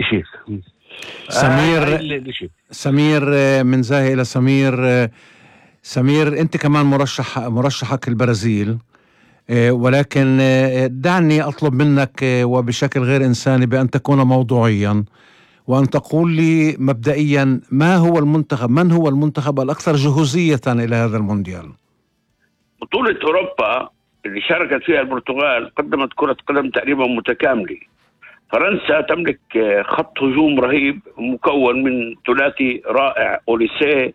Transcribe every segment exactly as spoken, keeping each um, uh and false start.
شيء. سمير سمير من زاهي إلى سمير. سمير أنت كمان مرشح مرشحك البرازيل، ولكن دعني أطلب منك وبشكل غير إنساني بأن تكون موضوعيا وأن تقول لي مبدئيا ما هو المنتخب من هو المنتخب الأكثر جهوزية إلى هذا المونديال؟ بطولة أوروبا اللي شاركت فيها البرتغال قدمت كرة قدم تقريبا متكاملة. فرنسا تملك خط هجوم رهيب مكون من ثلاثي رائع، أوليسيه،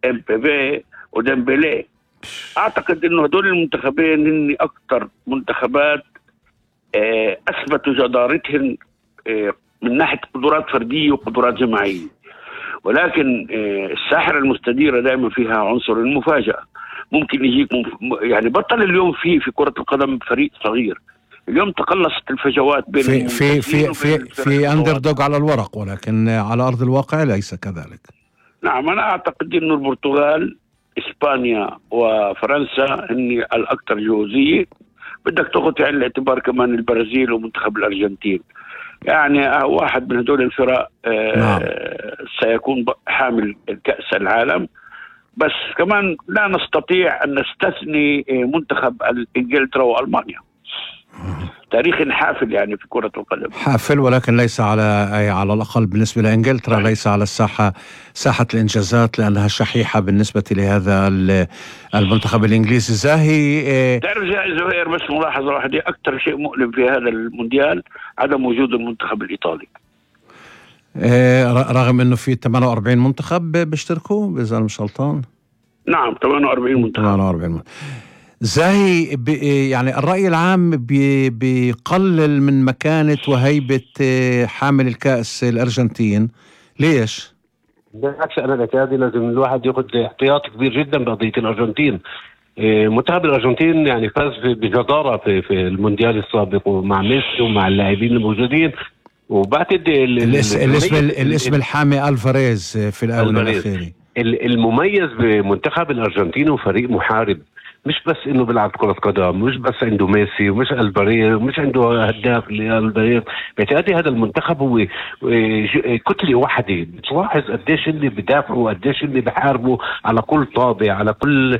امبابي، وديمبلي. أعتقد إنه هدول المنتخبين هن أكثر منتخبات أثبتوا جدارتهم من ناحية قدرات فردية وقدرات جماعية، ولكن الساحرة المستديرة دائما فيها عنصر المفاجأة. ممكن يجيك مف... يعني بطل اليوم في في كرة القدم فريق صغير. اليوم تقلصت الفجوات بين في في في في, في أندردوغ على الورق، ولكن على أرض الواقع ليس كذلك. نعم، أنا أعتقد إنه البرتغال، إسبانيا وفرنسا هن الأكثر جهوزية. بدك تأخذ في عين الاعتبار كمان البرازيل ومنتخب الأرجنتين. يعني واحد من هدول الفرق آه نعم. سيكون حامل كأس العالم. بس كمان لا نستطيع أن نستثني منتخب إنجلترا وألمانيا. تاريخ حافل يعني في كرة القدم، حافل، ولكن ليس على على الأقل بالنسبة لإنجلترا ليس على الساحة ساحة الإنجازات، لأنها شحيحة بالنسبة لهذا المنتخب الإنجليزي. زاهي تعرف زهير، بس ملاحظة واحدة، أكثر شيء مؤلم في هذا المونديال عدم وجود المنتخب الإيطالي، رغم أنه في ثمانية وأربعين منتخب بيشتركوا إذا أنا مش غلطان. نعم، ثمانية وأربعين منتخب. ثمانية وأربعين زاهي يعني الرأي العام بيقلل من مكانة وهيبة حامل الكأس الأرجنتين. ليش؟ بالعكس، أنا اعتقادي لازم الواحد يأخذ احتياط كبير جدا بقضية الأرجنتين. منتخب الأرجنتين يعني فاز بجدارة في, في المونديال السابق ومع ميسي ومع اللاعبين الموجودين، وبعتقد الاسم, الاسم, الاسم الحامي ألفاريز في الآونة الأخيرة. المميز بمنتخب الأرجنتين وفريق محارب، مش بس انه بيلعب كرة قدم، مش بس عنده ميسي ومش البرير ومش عنده هداف البرير. باعتقادي هذا المنتخب هو كتلة واحدة. بتلاحظ قديش اللي بدافعوا، قديش اللي بحاربوا على كل طابع، على كل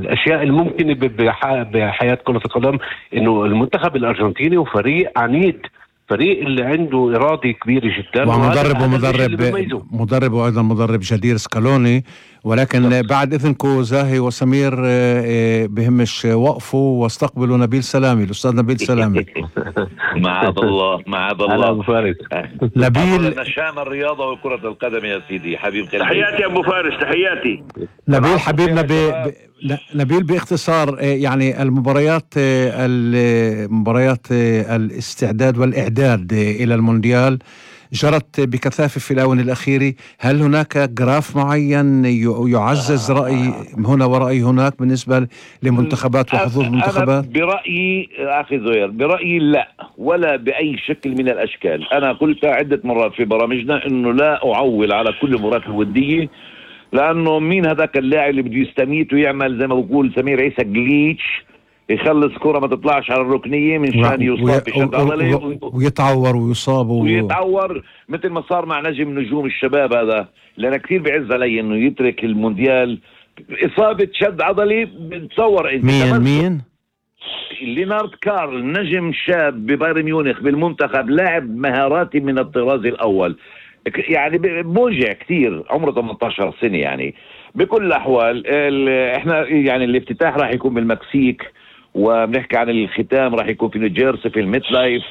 الاشياء الممكنة بحياة كرة القدم. انه المنتخب الارجنتيني وفريق عنيد، فريق اللي عنده إرادة كبيرة جدا، ومدرب ومدرب مدرب وأيضا مدرب جدير سكالوني. ولكن بعد إذنكم زاهي وسمير بهمش وقفوا واستقبلوا نبيل سلامي، الأستاذ نبيل سلامي. معاذ الله معاذ الله أبو فارس. نبيل نشام الرياضة وكرة القدم يا سيدي حبيب قلبي. تحياتي أبو فارس، تحياتي نبيل حبيبنا. ب... نبيل باختصار، يعني المباريات المباريات الاستعداد والإعداد إلى المونديال جرت بكثافة في الآونة الأخيرة. هل هناك جراف معين يعزز رأي هنا ورأي هناك بالنسبة لمنتخبات وحظوظ المنتخبات؟ أنا برأيي أخي زهير، برأيي لا، ولا بأي شكل من الأشكال. أنا قلت عدة مرات في برامجنا أنه لا أعول على كل مباراة الودية، لأنه مين هذاك اللاعب اللي بده يستميت ويعمل زي ما بقول سمير عيسى جليتش، يخلص كرة ما تطلعش على الركنية من شان يصاب بشد عضلي ويتعور ويصاب و... ويتعور مثل ما صار مع نجم نجوم الشباب هذا. لأن كثير بعز علي إنه يترك المونديال إصابة شد عضلي. بتصور أنت مين مين لينارد كارل، نجم شاب ببايرن ميونخ بالمنتخب، لاعب مهاراتي من الطراز الأول، يعني موجع كثير، عمره ثمانية عشر سنة. يعني بكل الأحوال احنا يعني الافتتاح راح يكون بالمكسيك، وبنحكي عن الختام راح يكون في نيوجيرسي في الميت لايف.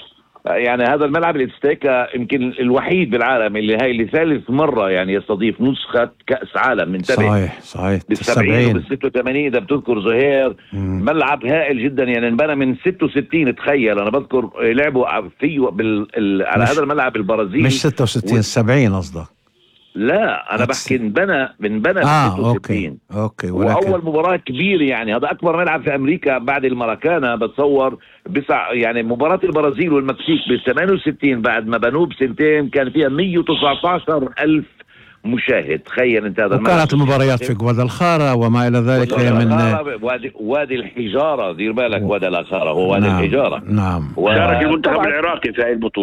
يعني هذا الملعب الاتستيكا يمكن الوحيد بالعالم اللي هاي لثالث مرة يعني يستضيف نسخة كأس عالم. من صحيح صحيح بالسبعين وبالستة وثمانين إذا بتذكر زهير. مم. ملعب هائل جدا، يعني انبنى من ستة وستين. تخيل أنا بذكر لعبوا فيه بال... ال... على هذا الملعب البرازيلي. مش ستة وستين و... سبعين قصدك؟ لا أنا بحكي انبنى انبنى آه ستة وستين. أوكي أوكي. ولكن... وأول مباراة كبيرة، يعني هذا أكبر ملعب في أمريكا بعد الماراكانا بتصور. بسع يعني مباراة البرازيل والمكسيك بال ثمانية وستين بعد ما بنوه بسنتين كان فيها مية وتسعة عشر ألف مشاهد. تخيل انت هذا. وكانت المباريات في غوادالخارا وما الى ذلك من وادي, وادي الحجاره. دير بالك، وادي الخارا هو وادي نعم الحجاره. نعم. شارك المنتخب العراقي في هذه البطوله.